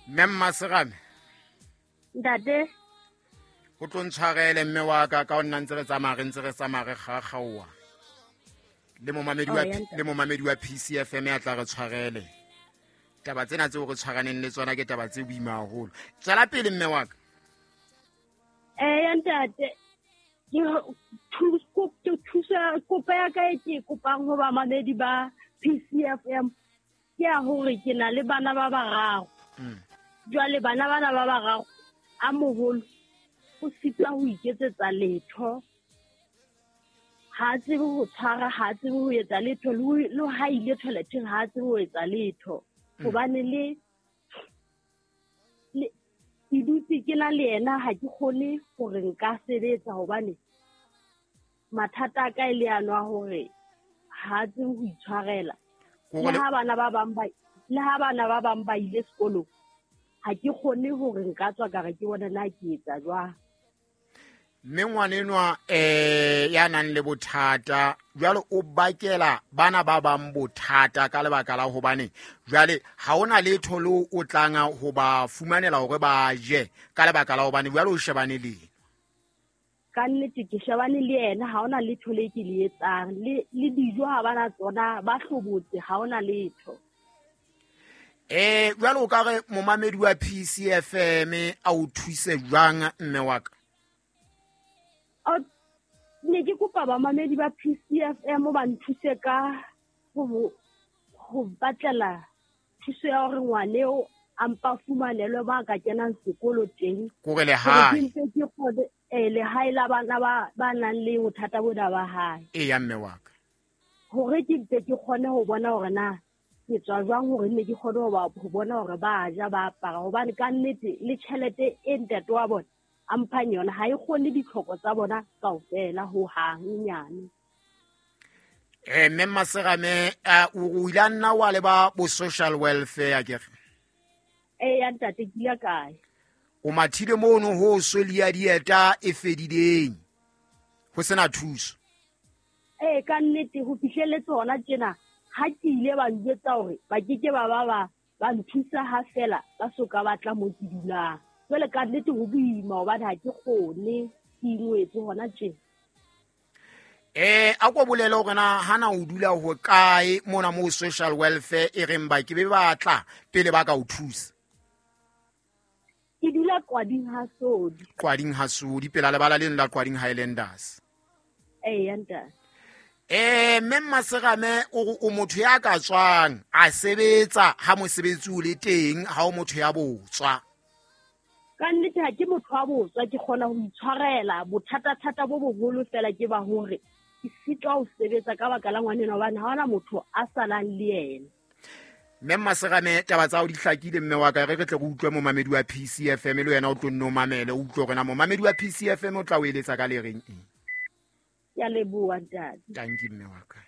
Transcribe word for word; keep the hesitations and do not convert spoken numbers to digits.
Mme Mmaserame. Ntate. O tlo ntshwarele mme wa ka ka o nna ntse re tsamaya re ntse re tsamaya re kgakgaoa. Le momamedi wa le momamedi wa P C F M ya tla re tshwarele. Taba tsena tseo re tshwaraneng le tsona ke taba tse boima haholo. Tswela pele mme wa ka. Eh ntate, ke thuso thuso kopo ya ka e ke kopang ho bamamedi ba P C F M ke ya hore ke na le bana ba bararo. Jwale bana bana ba bararo a moholo o sitwa ho iketsetsa letho. Ha tsebe ho tshwara, ha tsebe ho etsa letho, le ha ile toileteng ha tsebe ho etsa letho. Hobane le le ke dutse ke na le yena ha ke kgone hore nka sebetsa hobane mathata a ka e le ano a hore ha tsebe ho itshwarela. Le ha bana ba bang ba le ha bana ba bang ba ile sekolong ha ke kgone hore nka tswa ka re ke bona na ke etsa jwang. Mme ngwanenwa eh ya nang le bothata jwale o bakela bana ba bang bothata ka lebaka la hobane jwale ha ona letho le o tlanga ho ba fumanela hore ba je ka lebaka la hobane jwale o shebane le ka nnete ke shebane le yena ha ona letho le ke le etsang le le dijo ha bana tsona ba hlobotse ha ona letho. Eh jwale o ka re momamedi wa P C F M a o thuse jwang mme wa ka? Ne ke kopa bamamedi ba P C F M ba nthuse ka ho ho batlela thuso ya hore ngwane o a mpa fumanelwe ba ka kenang sekolo teng. Kore lehae. Ke kgone eh lehae la bana ba ba nang le bothata bona ba hae. E ya mme wa ka. Hore ke mpe ke kgone ho bona hore na ke tswa jwang hore nne ke kgone ho ba ho bona hore ba ja ba apara hobane ka nnete le tjhelete e ntate wa bona a mphang yona ha e kgone ditlhoko tsa bona kaofela ho hang nyane. Eh mme Mmaserame o ile a nna wa le ba bo social welfare ke re? Eh ya ntate ke ile kae. O mathile mono ho solia dieta e fedileng. Ho sena thuso. Eh ka nnete ho fihlelletse hona tjena ha ke ile ba njwetsa hore ba ke ke ba ba ba ba nthusa ha fela ba soka ba tla mo ke dulang. Jwale ka nnete ho boima hobane ha ke kgone ke ingwetse hona tjena. Eh a ko bolele hore na hana o dula ho kae mona mo social welfare e reng ba ke be batla pele ba ka o thusa. Ke dula Qwading ha Sodi. Qwading ha Sodi pela lebala leno la Qwading Highlanders. Eh ya ntate. Eh mme Mmaserame o o motho ya ka tswang a sebetsa ha mosebetsi o le teng ha o motho ya botswa. Ka nnete ha ke motho wa botswa ke kgona ho itshwarela bothata-thata bo boholo fela ke ba hore ke sitwa ho sebetsa ka baka la ngwaneno hobane ha hona motho a salang le yena. Mme Mmaserame taba tsa hao di hlakile mme wa ka re re tle re utlwe momamedi wa P C F M le wena o tlo nno mamele o utlwe hore na momamedi wa P C F M o tla o eletsa ka le reng eng. Ke a leboha ntate. Tanki mme wa ka.